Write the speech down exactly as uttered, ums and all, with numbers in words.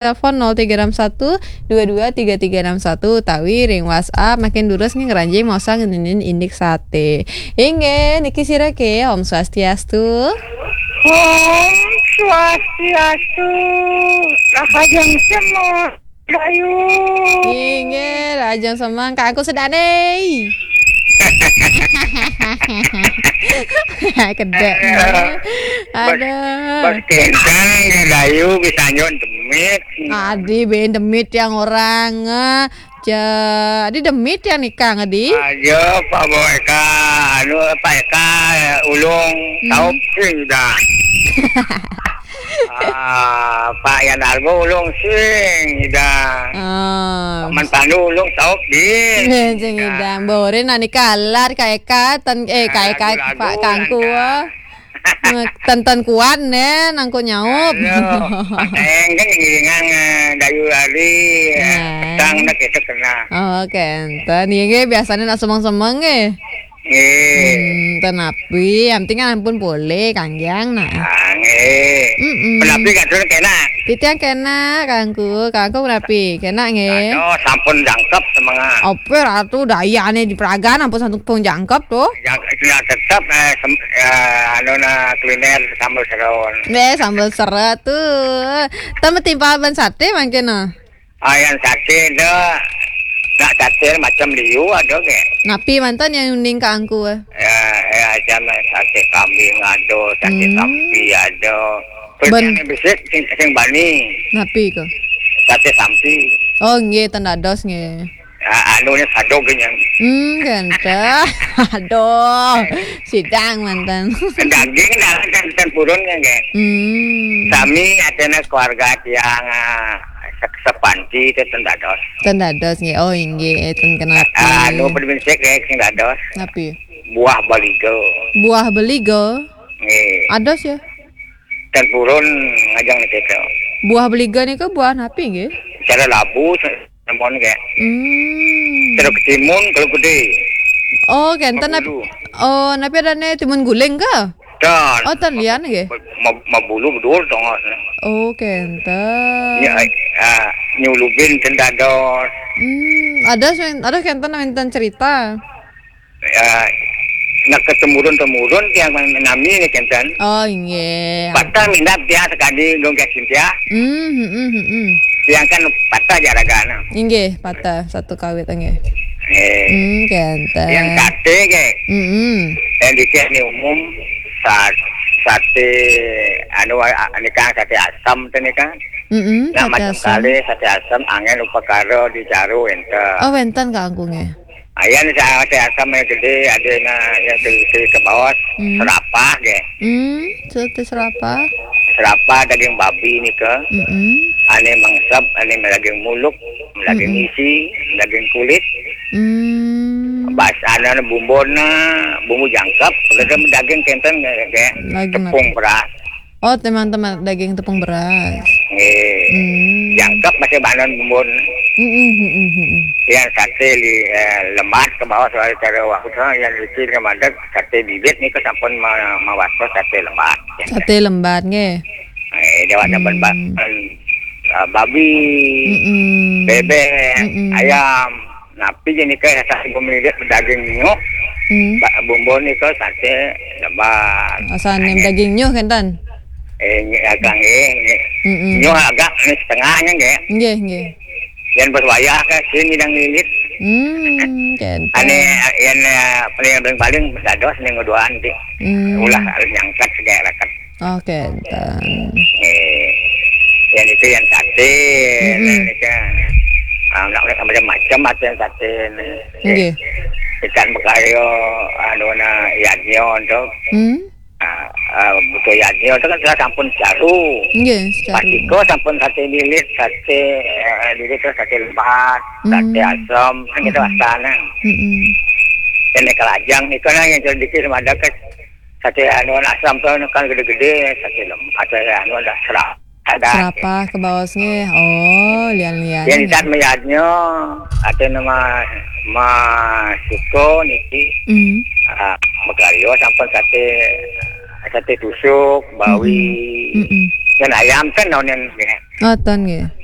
telepon nol tiga enam satu dua dua tiga tiga enam satu utawi ring WhatsApp. Makin durus nggih ngranjing maosang ngeninin indik sate. Inggih, niki sira ke, Om Swastiastu. Om Swastiastu. Rahajeng semeng, Dayu. Inggih, rahajeng semeng, Kak Angku sedane. Kedek. Aduh. Bos kentang, Dayu, bisa nyon demit. Adi, ben demit yang orang, eh, ja, adi demit yang nikah, adi. Ayo, Pak Bo Eka, anu, Pak Eka, ulung, hmm, taup sing dah. Ah, Pak Yan Arbo ulung sing dah. Ah. Pak Man Pandu ulung taup di. Sing dah. Bore nani kalar Kak Eka, ten, eh, Kak Eka, lagu-lagu Pak Kangku, lancar. Ten-ten kuat ne, nangku nyaup. Aduh, Pak Eng kan ngiringan, eh, Dayu Ari, eh, petang nak kita kena. Oh, kenten. Iya, nggih, biasanya nak semeng-semeng, nggih. Nggih. Hmm, ten napi, yang penting kan ampun boleh, Kanggiang, nah. Ah, nggih. Mm-mm. Penapi kan sudah kena. Titiang kena, Kangku. Kangku penapi? Kena, nggih. Aduh, sampun jangkep semangat. Apa ratu dayane di Praga, ampun sampun jangkep tuh. Jang-, ya, tetap, eh, sem-, eh, anu, nah, kuliner sambal serun. Nggih, sambal serun tuh. Tambah timpal ban sate mangkin, nah. Ayan sate dah. Nak sate macam liu ada ke? Napi mantan yang uning Kak Angku, eh? Ya, ya, macam sate kambing ada, sate, hmm, sapi ada. Terus ben- yang bisik sing, sing bani. Napi ke? Sate sampi. Oh, nggih, ten dados nggih. Ah, anu ni sado kenyang. Hmm, ganteng. Aduh, sidang mantan. Daging dah, dan, dan purun kan, nggih. Hmm. Sami ada keluarga tiang, ah, se-, sepanti itu ten dados. Ten dados nggih. Oh, inggih, eh, ten kenapi. Ah, anu, perminsik, nggih, sing dados. Napi? Buah baliga. Buah baliga? Nggih. Ados ya? Ten purun ngajeng niki to. Buah baliga nika buah napi nggih? Cara labu, se-, nemon nggih. Hmm. Cara ketimun kalau gede. Oh, kenten nap-, mabulu. Oh, napi adane timun guling ke? Ten. Oh, ten lian nggih. Ma-, ma-, mabulu bedul tongos. Oh, kenten. Ya, ah, nyulubin ten dados. Hmm, ada sen-, ada kenten wenten cerita. Ya, nak ketemurun-temurun tiang nami ni kenten. Oh, inggih. Patah minat tiang sekali dong ke Cynthia. Hmm, hmm, hmm, hmm. Tiang kan patah jaragana. Inggih, patah satu kawit, inggih. Eh. Hmm, kenten. Yang sate ke. Hmm, hmm. Yang di sini umum sa-, sate, anu, a-, a-, ni kan sate asam tu ni kan. Hmm, hmm, nak sate macam asam. Kali sate asam, angin upakara di caru ente. Oh, wenten Kak Angku nggih. Ayan sa-, sate asam yang gede, ada na yang seri-seri ke bawah, hmm, serapah ke. Hmm, sate serapah. Serapah daging babi ni ke. Hmm. Ane mengsep, ane daging muluk, daging, hmm, isi, daging kulit. Hmm. Bas, ane bumbuna, bumbu jangkep, kalau daging kenten ke, ke. Lagi tepung nak- beras. Oh, teman-teman daging tepung beras. Nggih. Hmm. Jangkep masih banan bumbun. Hmm, hmm, hmm, hmm, hmm. Yang sate li-, eh, lembat ke bawah soal cara waktu tu, yang licin ke madeg, sate bibit ni ke sampun ma-, mawasto sate lembat. Sate lembat nggih. Eh, dia ada, hmm, ban-, ban-, ah, babi, mm-mm, bebek, mm-mm, ayam. Napi je ni ke sate pemilik daging nyuh. Hmm. Ba-, bumbu ni ke sate lebar. Asal nem daging nyuh kan, Tan? Eh, nyi-, agak nggih, nggih. Mm-mm. Nyuh agak ni setengahnya nggih. Nggih, nggih. Yang berwayah ke sini dan lilit. Hmm, kan. Ane, yang, eh, paling, paling dados ni ngeduaan ti. Hmm. Ulah harus nyangkat segae rakat. Oke, enten. Eh, yang itu yang sate, mm-mm, yang itu, ah, nak, nak macam-macam macam sate ni. Nggih. Ikan bekayo, anu na, yadnya tu. Hmm. Ah, ah, butuh yadnya tu kan sudah sampun secaru. Nggih, secaru. Patiko sampun sate lilit, sate, eh, lilit tu sate lebat, sate, hmm, asam, kan kita, hmm, asal nang. Mm-mm. Yang kelajang ni kan yang sedikit sama ada ke sate anu asam tu kan gede-gede, sate lem-, sate anu ada serap. Ada. Serapah ke bawah nggih. Oh, lian-lian. Yang nggih. Itat mayadnya, ada nama Mas Suko niki. Hmm. Ah, megayo sampun sate, sate tusuk, bawi. Mm-mm. Mm-mm. Dan ayam kan nonen nggih. Atan nggih.